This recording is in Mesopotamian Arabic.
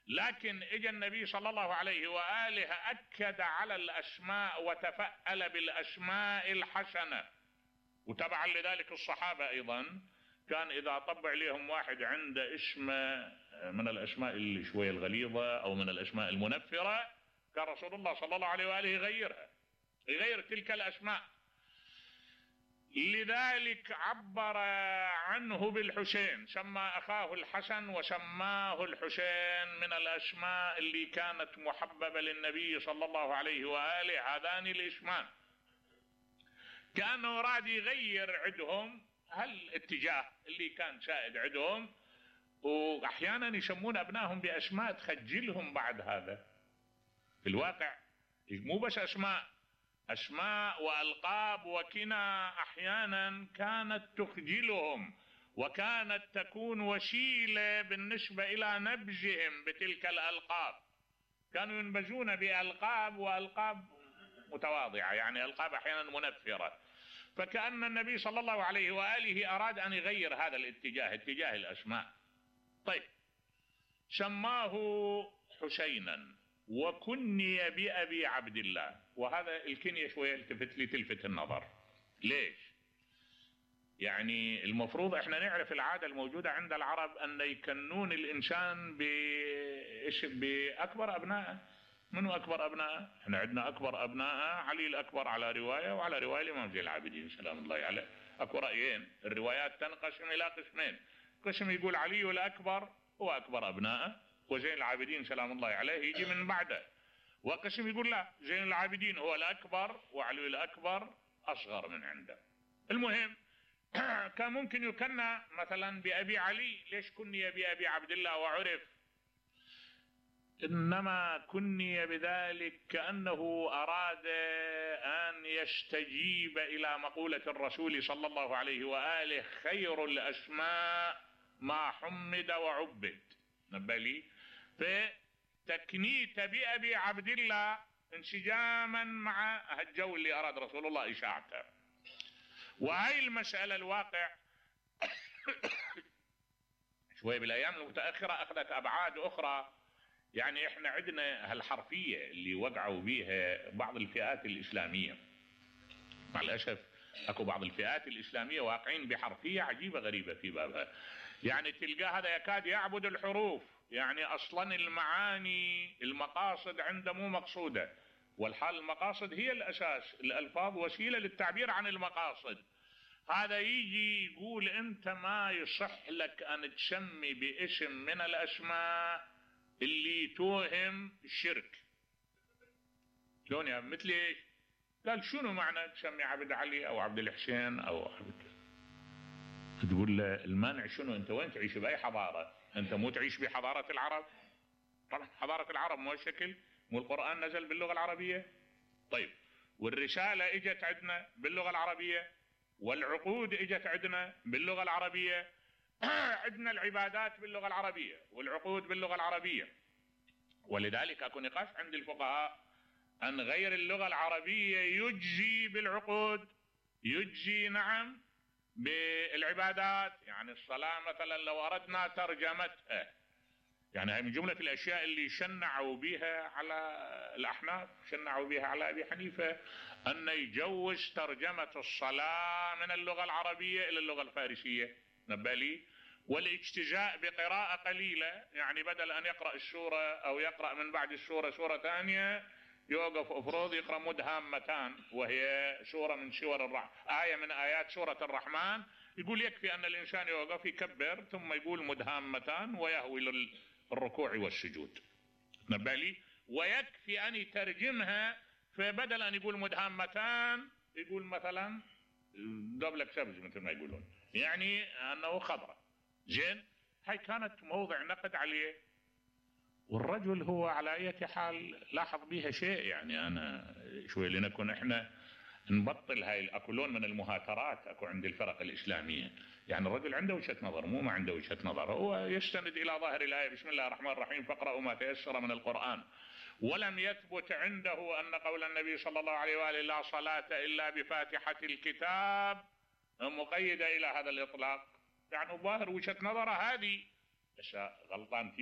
لكن اجى النبي صلى الله عليه وآله أكد على الأسماء وتفأل بالأسماء الحسنة. وتبعا لذلك الصحابة أيضا كان إذا طبع لهم واحد عنده اسم من الأسماء اللي شوية الغليظة أو من الأسماء المنفرة، كان رسول الله صلى الله عليه وآله يغيرها، يغير تلك الأسماء. لذلك عبر عنه بالحسين، سمى أخاه الحسن وسماه الحسين، من الأسماء اللي كانت محببة للنبي صلى الله عليه وآله هذان الاسمان. كأنه راد يغير عندهم هالاتجاه اللي كان سائد عندهم، وأحيانا يسمون أبنائهم بأسماء تخجلهم بعد هذا. في الواقع مو بس أسماء وألقاب وكنى أحيانا كانت تخجلهم، وكانت تكون وسيلة بالنسبة إلى نبذهم بتلك الألقاب. كانوا ينبذون بألقاب، وألقاب متواضعة، يعني ألقاب أحيانا منفرة. فكأن النبي صلى الله عليه وآله أراد أن يغير هذا الاتجاه، اتجاه الأسماء. طيب، سماه حسينا وكني بأبي عبد الله. وهذا الكنية شوية تلفت النظر. ليش؟ يعني المفروض احنا نعرف العادة الموجودة عند العرب أن يكنون الإنسان بأكبر أبنائه. منو أكبر أبنائه؟ احنا عندنا أكبر أبنائه علي الأكبر على رواية، وعلى رواية الإمام زين العابدين سلام الله عليه. أكو رأيين، الروايات تنقسم إلى قسمين. قسم يقول علي الأكبر هو أكبر أبنائه، وزين العابدين سلام الله عليه يجي من بعده. وقسم يقول لا، زين العابدين هو الأكبر وعلي الأكبر أصغر من عنده. المهم كان ممكن يكنى مثلا بأبي علي، ليش كني بأبي عبد الله وعرف؟ إنما كني بذلك كأنه أراد أن يستجيب إلى مقولة الرسول صلى الله عليه وآله: خير الأسماء ما حمد وعبد. نبالي فتكنيت بأبي عبد الله انسجاما مع الجو اللي أراد رسول الله إشاعته. وهي المسألة الواقع شوي بالأيام المتأخرة أخذت أبعاد أخرى. يعني احنا عندنا هالحرفية اللي وقعوا بيها بعض الفئات الإسلامية. مع الأسف اكو بعض الفئات الإسلامية واقعين بحرفية عجيبة غريبة في بابها. يعني تلقى هذا يكاد يعبد الحروف، يعني أصلا المعاني المقاصد عنده مو مقصودة، والحال المقاصد هي الأساس، الألفاظ وسيلة للتعبير عن المقاصد. هذا يجي يقول أنت ما يصح لك أن تسمي باسم من الأسماء اللي توهم الشرك. شلون يعني؟ مثل ايش؟ قال شنو معنى تسمي عبد علي او عبد الحسين او عبد؟ تقول له المانع شنو؟ انت وين تعيش؟ باي حضاره؟ انت مو تعيش بحضاره العرب؟ طبعا حضاره العرب مو شكل، مو القران نزل باللغه العربيه؟ طيب، والرساله اجت عندنا باللغه العربيه، والعقود اجت عندنا باللغه العربيه، عندنا العبادات باللغة العربية والعقود باللغة العربية. ولذلك اكو نقاش عند الفقهاء ان غير اللغة العربية يجزي بالعقود، يجزي نعم بالعبادات. يعني الصلاة مثلا لو اردنا ترجمتها، يعني هي من جملة الاشياء اللي شنعوا بها على الاحناف، شنعوا بها على ابي حنيفة، ان يجوز ترجمة الصلاة من اللغة العربية الى اللغة الفارسية. نبالي، والاجتزاء بقراءة قليلة، يعني بدل أن يقرأ السورة أو يقرأ من بعد السورة سورة ثانية يوقف أفروض يقرأ مدهامتان، وهي سورة من سور آية من آيات سورة الرحمن. يقول يكفي أن الإنسان يوقف يكبر ثم يقول مدهامتان ويهوي للركوع والسجود. نبالي، ويكفي أن يترجمها، فبدل أن يقول مدهامتان يقول مثلا دبلك سبز مثل ما يقولون، يعني أنه خضرة. زين، هاي كانت موضع نقد عليه. والرجل هو على أي حال لاحظ بيها شيء، يعني أنا شوي لنكون إحنا نبطل هاي الأكلون من المهاترات أكو عند الفرق الإسلامية. يعني الرجل عنده وجهة نظر، مو ما عنده وجهة نظر، هو يستند إلى ظاهر الآية بسم الله الرحمن الرحيم فاقرأوا ما تيسر من القرآن. ولم يثبت عنده أن قول النبي صلى الله عليه وآله لا صلاة إلا بفاتحة الكتاب مقيدة إلى هذا الإطلاق. يعني ظاهر وجهة نظره هذه، بس غلطان فيه.